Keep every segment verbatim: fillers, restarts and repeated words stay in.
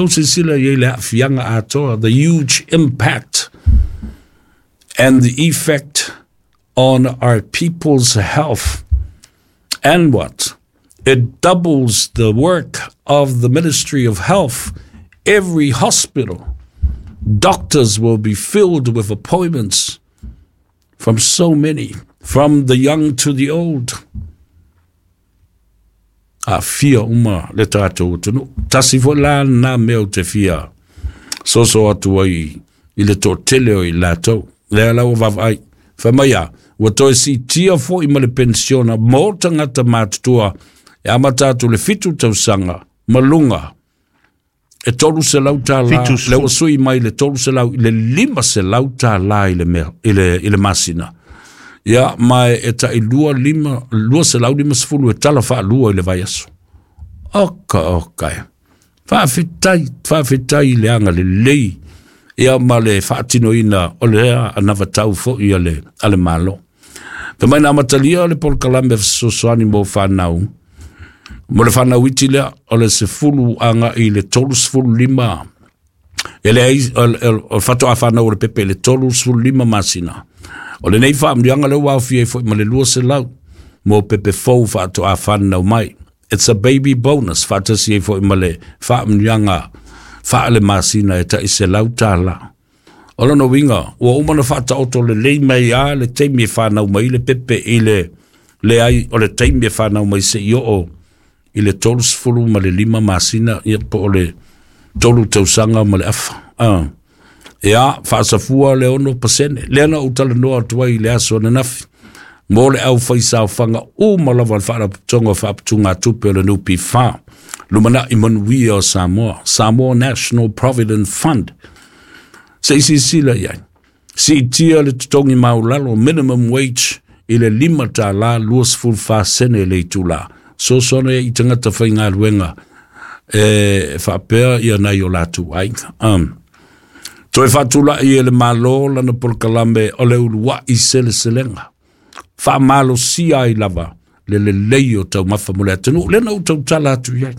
tou silasila i ai le aafiaga atoa, the huge impact and the effect on our people's health. And what? It doubles the work of the Ministry of Health. Every hospital, doctors will be filled with appointments from so many, from the young to the old. Aafia uma le tatou atunuu. Tasi foi la na mea ou te fia soso atu ai i le toatele o i latou. Lea la ua vaavaai. Fai mai a, ua toe siitia foi ma le penisiona mo tagata matutua e amata atu le fitu tausaga ma luga e tolu selau tālā, le ua sui mai le tolu selau i le lima selau tālā i le, mea, i le, i le masina. Ia, ma e tai lua lima, lua selau lima sefulu e tala faalua i le vaiaso. Oka, oka e. Faafetai, faafetai i le agalelei ia ma le faatinoina o lea anavatau foi a le, a le Malo. Fai mai na amatalia le polokalame fesoasoani mo fanau, mo le fanau iti lea o le sefulu agai i le tolu sefulu lima, e leai o le faatoa fanau o le pepe i le tolu sefulu lima masina. O lenei faamanuiaga lea ua aofia ai foi ma le lua selau mo pepe fou faatoa fanau mai. It's a baby bonus faatasi ai foi ma le faamanuiaga faalemasina e tai selau tālā. O lona uiga, ua uma ona faataoto lelei mai a le taimi e fanau mai le pepe i le leai o le taimi e fanau mai seia oo i le tolu sefulu ma le lima masina, ia po o le tolu tausaga ma le afa. Ah. Ia, faasafua le ono pasene. Lea na ou talanoa atu ai i le aso ananafi mo le aufaisaofaga uma lava o le Faalapotopotoga o Faaputugatupe o le N P F A, Lumanai Manuia o Samoa, Samoa National Provident Fund. Se i silasila i ai, siitia le totogi maulalo, minimum wage, i le lima tālā lua sefulu fa sene le itulā. Sosoana i tagata faigaluega e faapea ia nai o latou aiga. Um, toe faatulai e le Malo lana polokalame o le uluai seleselega. Faamalosia ai lava le lelei o taumafa mo le atunuu. Lea na ou tautala atu i ai.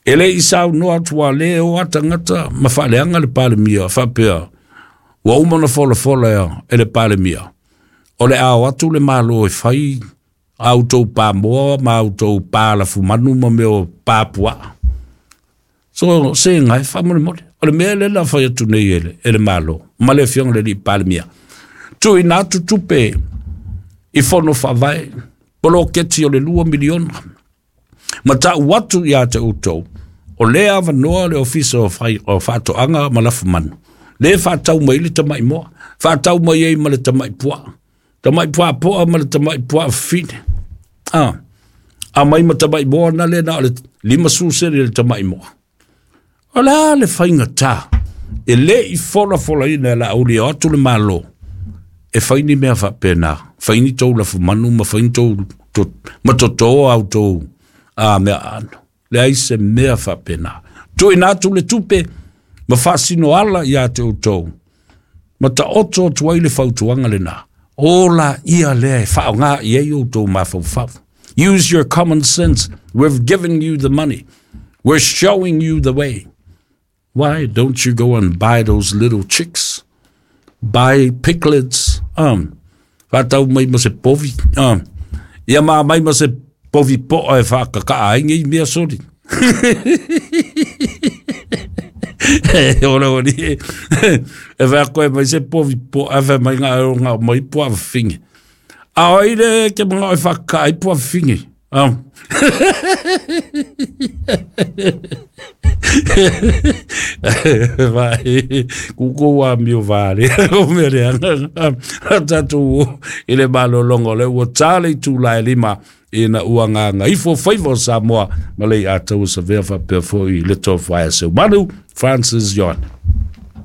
E le i saunoa atu a le o a tagata ma faaleaga le Palemia faapea, ua uma ona folafola ea e le Palemia. O le ao atu le Malo e fai a outou pamoa ma outou palafumanu ma mea o papuaa. So se ngai faamolemole. O le mea lea na fai atu nei e le, e le Malo ma le afioga i le alii Palemia. Tuuina atu tupe i fono faavae, poloketi o le lua miliona. Ma ta'u atu ia te outou, o lea avanoa le ofisa o, fai, o Faatoaga ma Lafumanu. Le faatau mai le tama'i moa, faatau mai ai ma le tama'i puaa, tama'i puapoa ma le tama'i puaa fafine. Ah, a mai ma tama'i moa na le na o le lima sulu sene le tama'i moa. O le a le faigatā, e le i folafolaina e la auli o atu le Malo, e fai ni mea faapena, fai ni tou lafumanu ma fai ni tou to, ma totō au tou a mea ano. Leai se mea faapena. Tuuina atu le tupe ma faasino ala ia te outou, ma taoto atu ai le fautuaga lenā. O la ia lea e faaaogā i ai outou mafaufau. Use your common sense. We've given you the money. We're showing you the way. Why don't you go and buy those little chicks? Buy piglets. Um, faatau mai ma se povi. Um, ia ma mai ma se povi po'a e faakaka'a ai nei mea soli. Ora ori e wha koe mai se povi po'a e wha mai ngā o ngā mai po'a whingi. A oi le ke mga o whakaka'a ai po'a whingi. Um. Vai, kuko wa mio vare, o mere anga, tatu i le malolongo le ua tale i tūla e lima ina ua ngā ifo faiva o Samoa, ma le i atau sa vea whapea foi le tofa e seu manu, Francis Yon.